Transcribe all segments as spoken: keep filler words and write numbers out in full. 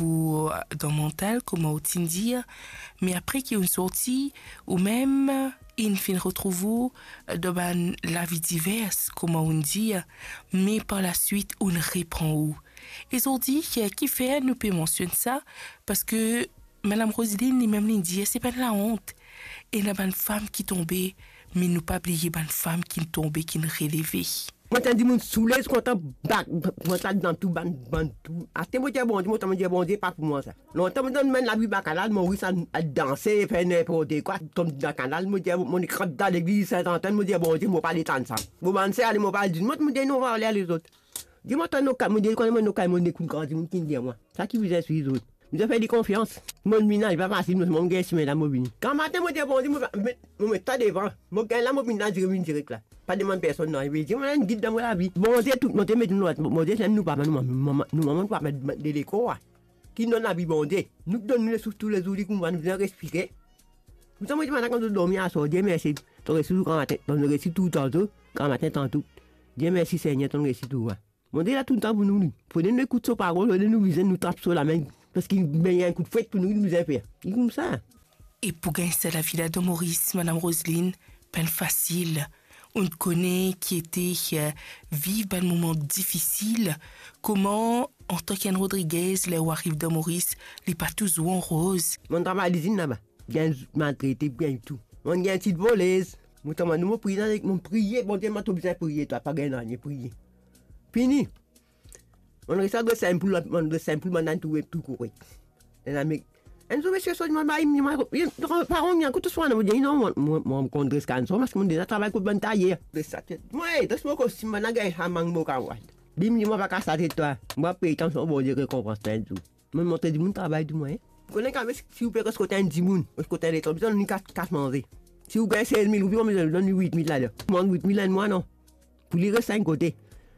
ou dan mantal, kouma ou ti'n dir, me apre ki ou'nn sorti, oumem inn finn retrouv ou dan bann lavi divers, kouma ou'nn dir, me par laswit ou'nn repran ou. E zordi, ki, kifer nou pe mansionn sa? Parski Madam Roseline limem li'nn dir, se pa enn laont. Ena bann fam ki tonbe, me nou pa bliye bann fam ki'nn tonbe, ki'nn releve. Mo tann dimoun soule, kontan bak, kontan dan tou bann, bann tou. Aster mo dir Bondie, mo tann mo dir Bondie, pa pou mwa sa. Lontan mo tann bann lavi bakanal, Moris al, al danse, fer ninport kwa, tom dan kanal, mo dir, mo, mo ekran dan legliz Sint Antonn, mo dir Bondie, mo pa le tann sa. Mo bann ser ale, mo pa al dir, mo, mo dir non, va ale, ale zot. Dir mo tann nou kay, mo dir, kouma mo nou kay, mo ekout gran dimoun ki'nn dir mwa. Sa ki bizin swiv zot. Bizin fer li konfians. Mo vini la, li pa fasil, mo, mo gagn simin la, mo vini. Gramatin, mo dir Bondie, mo, mo, mo met sa devan. Mo gagn la, mo vini la, direk, vinn direk la. Pa demann personn nanye, mo dir, mo enn gid dan mo lavi. Bondie tou, mo te met nou, mo dir, nou papa, nou mama, nou mama, nou papa de lekor, ki donn lavi, Bondie. Nou donn nou lesouf toulezour, li kouma nou bizin respire. Koumsa, mo dir, bann la kan zot dormi aswar, Dieu merci, to resi tou gramatin, to resi tou tanto, gramatin tanto. Dieu merci, Segner, to resi tou, wa. Bondie la toultan pou nou, li. Fode nou ekout so parol, fode nou bizin nou trap so lame, parski li bizin enn kout fwet pou nou, nou bizin fer. Li koumsa. E pou gagn sa lavi la dan Moris, Madam Roseline, pa enn fasil. Ou'nn kone ki ete, eh, viv bann moman difisil. Kouma, antan ki enn Rodriguez, ler ou ariv dan Moris, li pa touzour an roz. Mo'nn travay lizinn laba. Gagn maltrete, gagn tou. Mo'nn gagn tit volez. Mo tann, mo priye, mo priye, Bondie, mo to bizin priye, twa, pa gagn nanye, priye. Fini. Mo'nn res a Gres Sinpoul, mo'nn Gres Sinpoul, bann la tou, tou korek. Ena me, enn zour misie sot, mo bay, mo, mo, paran, kouma to swa, mo dir non, mo, mo, mo konn dres kannson, parski mo deza travay kot bann tayer. Dres sa tet. Mo, eh, dres mo kostim, bann la gagn sa mang mo kamarad. Li, mo pa kas latet twa. Mo pey tann so Bondie rekonpans twa enn zour. Mo'nn montre dimoun travay tou mwa, eh. Ou kone kan, si ou pe res kot enn dimoun, res kot enn letan, bizin donn li kas, kas manze. Si ou gagn sez mil roupi, mo bizin donn li wit mil ladan. Mo donn wit mil enn mwa, non. Pou li res enn kote.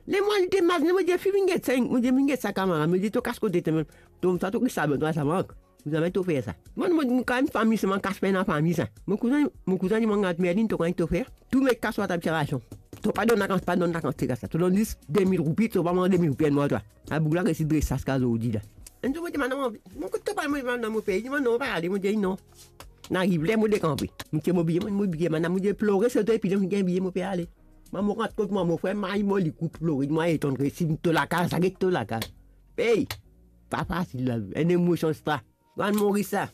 Le mwa li te mazine, mo dir, fi, vinn get sa, mo dir, vinn get sa, kamarad. Mo dir, to kas kote, to, to, sa, to ki sa, to sa mank. Mo zame to fer sa. Mo, mo, mo, kan fami, se mo kas pen dan fami sa. Mo kouzin, mo kouzin, li, mo gard Merlin, to kone ki to fer. Tou met kas lor ta abitasion. To pa donn lakans, pa donn lakans, ti kas la. To donn zis de mil roupi, to pa manz de mil roupi enn mwa, twa. Sa boug la resi dres sa ziska zordi la. Enn zour mo dir, madam, mo kot to pa, mo, madam, mo pey, mo non, pa ale, mo dir non. Inn ariv ler mo dekanpe. Mo tir mo biye, mo, mo biye, madam, mo dir plore, sote, epi mo gagn biye, mo pe ale. Mo, mo rant kot mwa, mo frer, may mo, li kout plore, mo etonn resi, to lakaz, sa get to lakaz. Pey! Pa fasil la, enn emosion sa. Bann Moris sa.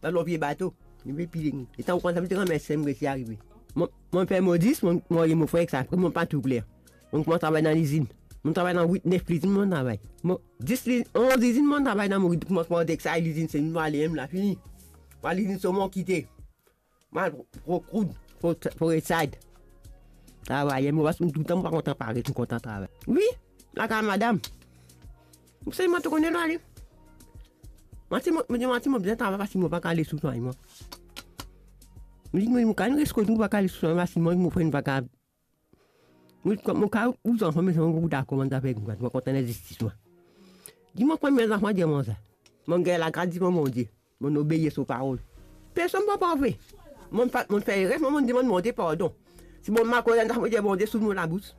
Bann lor vie bato. Li pe pile. Letan ou konn sa, mo ti rann mem sem resi arive. Mo, mo fer mo dis, mo, mo, mo frer ek sa. Apre mo pa tou kler. Mo koumans travay dan lizinn. Mo travay dan wit, nef lizinn, mo travay. Mo, dis li, onz lizinn, mo travay dan mo koumans par Dexay lizinn, se mo ale mem la, fini. Mo al lizinn so mo kite. Mo al Rockwood, Fo-, Forestside. Travay, mo pa, toultan mo pa kontan paret, mo kontan travay. Wi, lakaz madam. Mo selman to kone lor ale. Mo ti, mo, mo, mo ti, mo bizin travay parski mo pa kapav les ou swagn mwa. Mo dir, mo, mo kapav res kot ou, pa kapav les ou swagn mwa, parski mo, mo frer pa kapav. Mo, mo kapav ou zanfan, me zanfan pou dakor, mo dakor, mo kontan lezistis mwa. Dir mwa, kouma zanfan dir mwa sa. Mo gagn lagras devan Bondie. Mo obeir so parol. Personn pa parfe. Mo pa, mo fer erer, mo, mo dimann Bondie pardon. Si mo mal koz enn zafar, mo dir Bondie, sout mo labous.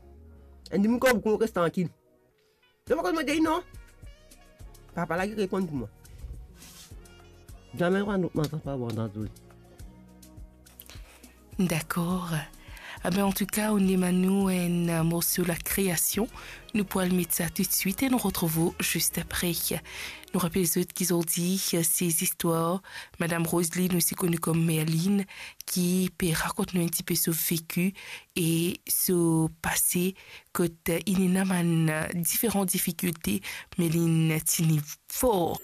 Enn dimoun koz boukou, mo res trankil. Donk, mo dir non. Papa la ki reponn pou mwa. Zame mo pa, mo pa, pa bon dan zot. Dakor. Abe, antouka, ou'nn demann nou enn morso La Création. Nou pou al met sa toutswit e nou retrouv ou zis apre. Nou rapel zot ki zordi, se zistwar Madam Roseline, osi koni kom Merlin, ki pe rakont nou enn tipe so veki e so pase, kot inn ena bann diferan difikilte, me linn tini for.